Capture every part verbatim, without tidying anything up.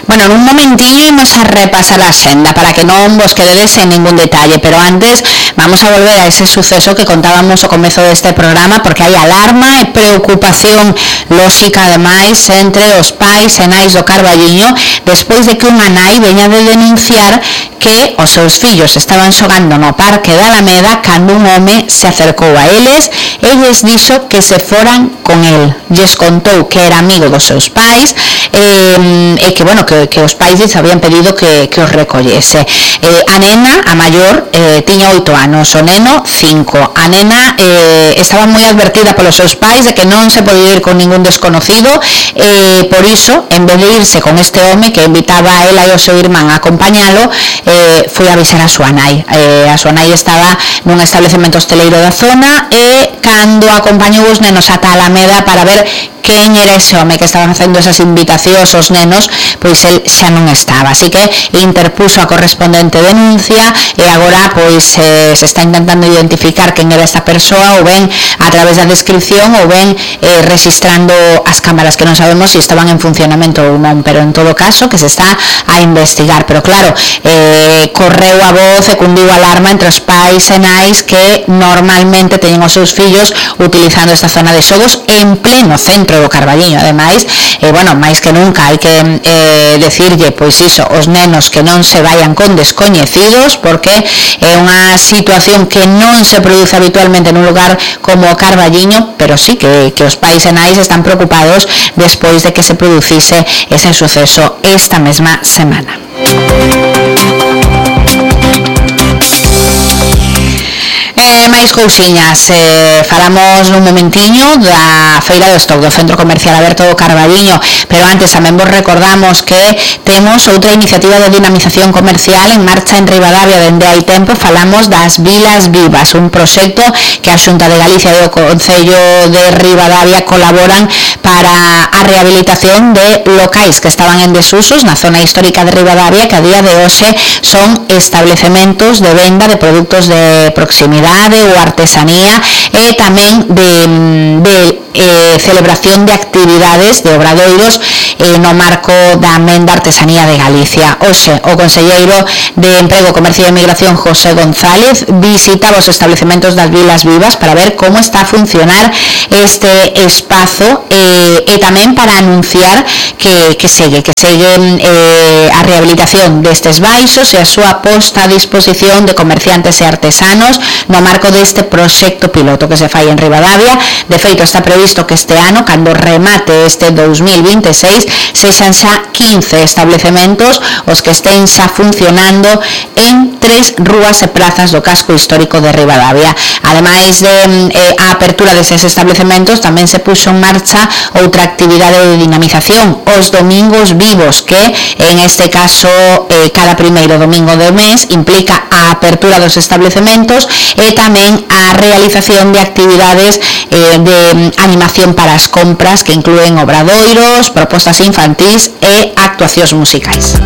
Bueno, en un momentillo vamos a repasar la senda para que non vos quededes en ningún detalle, pero antes vamos a volver a ese suceso que contábamos ao comezo deste programa, porque hai alarma e preocupación lóxica ademais entre os pais e nais do Carballiño despois de que unha nai veña de denunciar que os seus fillos estaban xogando no Parque da Alameda cando un home se acercou a eles e lles dixo que se foran con el. Lles contou que era amigo dos seus pais e, e que, bueno, que, que os pais lles habían pedido que, que os recollese. Eh, a nena, a maior, eh, tiña oito anos, o neno cinco. A nena eh, estaba moi advertida polos seus pais de que non se podía ir con ningún desconocido, eh, por iso, en vez de irse con este home que invitaba a ela e o seu irmán a acompañalo, eh, foi a avisar a súa nai. Eh, a súa nai estaba nun establecemento hosteleiro da zona e cando acompañou os nenos ata a Alameda para ver quen era ese home que estaban facendo esas invitacións aos nenos, pois el xa non estaba, así que interpuso a correspondente denuncia e agora pois eh, se está intentando identificar quen era esta persoa, ou ben a través da descripción ou ben eh, registrando as cámaras, que non sabemos se estaban en funcionamento ou non, pero en todo caso que se está a investigar. Pero claro, eh, correu a voz e cundiu a alarma entre os pais e nais que normalmente teñen os seus fillos utilizando esta zona de xogos en pleno centro do Carballiño. Ademais, eh, bueno, máis que nunca hai que eh, decirlle, pois iso, os nenos que non se vayan con descoñecidos, porque é unha situación que non se produce habitualmente nun lugar como o Carballiño, pero sí que, que os pais e nais están preocupados despois de que se producise ese suceso esta mesma semana. Eh, máis cousiñas, eh, falamos nun momentiño da Feira do Stock do Centro Comercial Aberto do Carballiño, pero antes tamén vos recordamos que temos outra iniciativa de dinamización comercial en marcha en Ribadavia dende hai tempo. Falamos das Vilas Vivas, un proxecto que a Xunta de Galicia e o Concello de Ribadavia colaboran para a rehabilitación de locais que estaban en desusos na zona histórica de Ribadavia, que a día de hoxe son establecementos de venda de produtos de proximidade ou artesanía e tamén de, de eh, celebración de actividades de obradoiros eh, no marco da Menda Artesanía de Galicia. Hoxe, o conselleiro de Emprego, Comercio e Emigración, José González, visitaba os establecementos das Vilas Vivas para ver como está a funcionar este espazo eh, e tamén para anunciar que, que segue, que segue eh, a rehabilitación destes baixos e a súa posta a disposición de comerciantes e artesanos no marco deste proxecto piloto que se fai en Ribadavia. De feito, está previsto que este ano, cando remate este dous mil vinte e seis, sexan xa quince establecementos os que estén xa funcionando en tres rúas e plazas do casco histórico de Ribadavia. Ademais de eh, a apertura deses establecementos, tamén se puxo en marcha outra actividade de dinamización, os domingos vivos, que en este caso eh, cada primeiro domingo do mes implica a apertura dos establecementos e tamén a realización de actividades eh, de animación para as compras que inclúen obradoiros, propostas infantís e actuacións musicais.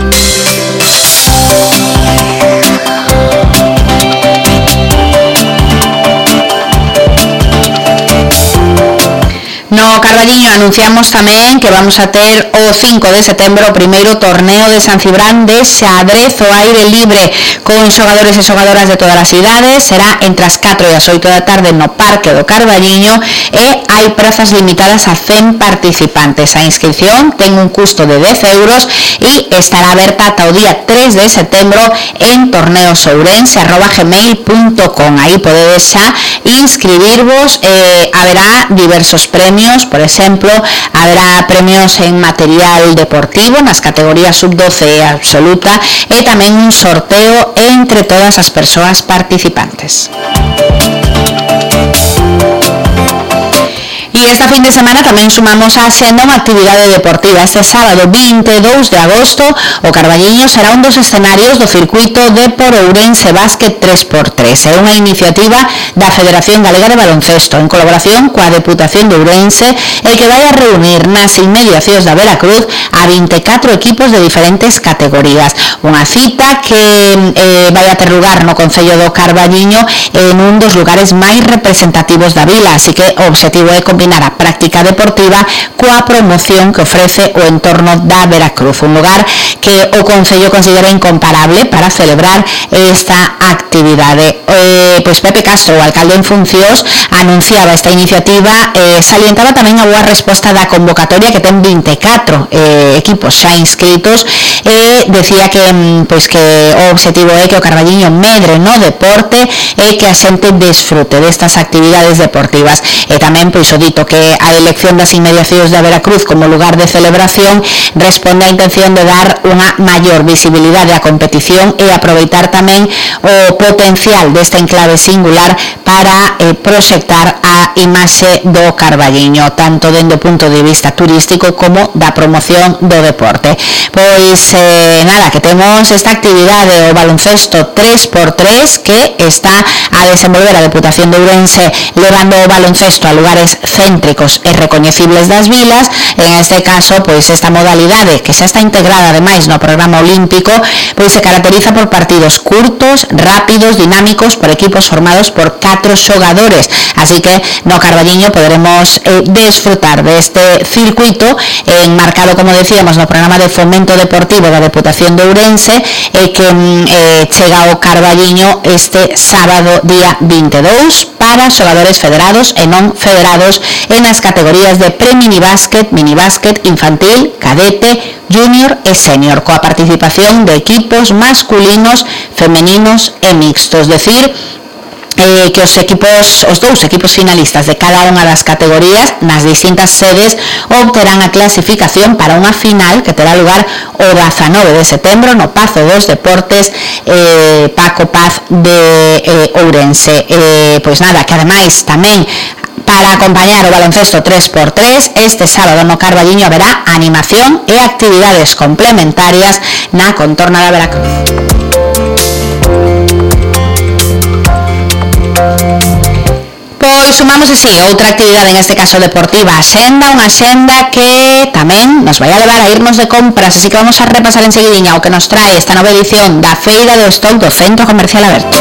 No Carballiño anunciamos tamén que vamos a ter o cinco de setembro o primeiro torneo de San Cibrán de xadrez ao aire libre con xogadores e xogadoras de todas as idades. Será entre as catro e as oito da tarde no Parque do Carballiño e hai prazas limitadas a cen participantes. A inscripción ten un custo de dez euros e estará aberta ata o día tres de setembro en torneosourense arroba gmail punto com. Aí podedes xa inscribirvos, eh, haberá diversos premios. Por exemplo, haberá premios en material deportivo nas categorías sub doce e absoluta e tamén un sorteo entre todas as persoas participantes. E esta fin de semana tamén sumamos a xenda unha actividade deportiva. Este sábado vinte e dous de agosto o Carballiño será un dos escenarios do circuito de por Ourense Básquet tres por tres. É unha iniciativa da Federación Galega de Baloncesto en colaboración coa Deputación de Ourense e que vai a reunir nas inmediacións da Veracruz a vinte e catro equipos de diferentes categorías. Unha cita que eh, vai a ter lugar no Concello do Carballiño en un dos lugares máis representativos da vila, así que o obxectivo é combinar nada, práctica deportiva coa promoción que ofrece o entorno da Veracruz, un lugar que o Concello considera incomparable para celebrar esta actividade. Eh, pois Pepe Castro, o alcalde en funcións, anunciaba esta iniciativa, eh, salientaba tamén a boa resposta da convocatoria que ten vinte e catro eh, equipos xa inscritos, e decía que pois que o obxectivo é que o Carballiño medre no deporte e que a xente desfrute destas actividades deportivas. E tamén pois o dito que a elección das inmediacións da Veracruz como lugar de celebración responde á intención de dar unha maior visibilidade á competición e aproveitar tamén o potencial desta enclave singular para eh, proxectar a imaxe do Carballiño, tanto dende o punto de vista turístico como da promoción do deporte. Pois eh, nada, que temos esta actividade, o baloncesto tres por tres, que está a desenvolver a Deputación de Ourense, levando o baloncesto a lugares céntricos e recoñecibles das vilas. En este caso, pois esta modalidade, que xa está integrada ademais no programa olímpico, pois se caracteriza por partidos curtos, rápidos, dinámicos, por equipos formados por catro xogadores, así que no Carballiño poderemos eh, desfrutar deste circuito enmarcado, como decíamos, no programa de fomento deportivo da Deputación de Ourense, e que eh, chega ao Carballiño este sábado día vinte e dous para xogadores federados e non federados en as categorías de pre-minibásquet, minibásquet, infantil, cadete, junior e senior, coa participación de equipos masculinos, femeninos e mixtos, decir, Eh, que os equipos, os dous equipos finalistas de cada unha das categorías nas distintas sedes obterán a clasificación para unha final que terá lugar o dezanove de setembro no Pazo dos Deportes eh, Paco Paz de eh, Ourense. Eh, pois nada, que ademais tamén para acompañar o baloncesto tres por tres, este sábado no Carballiño haberá animación e actividades complementarias na contorna da Veracruz. Pois sumamos así outra actividade, en este caso deportiva, a xenda, unha xenda que tamén nos vai a levar a irnos de compras, así que vamos a repasar enseguidinha o que nos trae esta nova edición da Feira do Stock do Centro Comercial Aberto.